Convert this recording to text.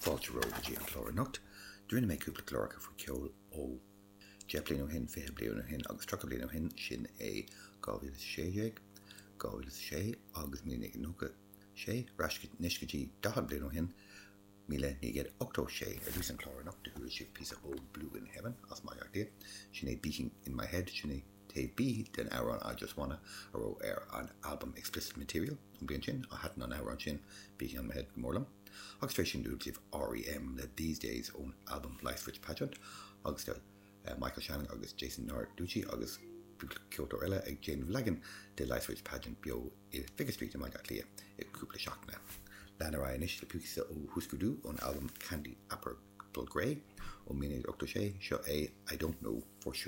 Fáilte romhaibh go dtí an clár anocht. Rinne mé cúpla cláracha faoi cheol ó 10 bliain ó shin, 20 bliain ó shin agus 30 bliain ó shin, sin é 2016, 2006 agus 1996, ar ais anois go dtí 40 bliain ó shin, 1986. Ar dtús an clár anocht do chuala sibh píosa ó Blue in Heaven as Baile Átha Cliath, sin é Beating in My Head, sin é taobh B den amhrán I Just Wanna a raibh ar an albam Explicit Material ón bliain sin, thaitin an amhrán sin Beating on My Head go mór liom. Agus tar éis sin do chuala sibh R.E.M. le These Days ón albam Light Switch Pageant agus tá Michael Shannon agus Jason Narducy agus cúpla ceoltóir eile ag déanamh leagan de Light Switch Pageant beo i Vicar Street i mBaile Átha Cliath i gcúpla seachtaine. Lean ar aghaidh anois le píosa ó Hüsker Dü ón albam Candy Apple Grey ó 1986, seo é I Don't Know For Sure.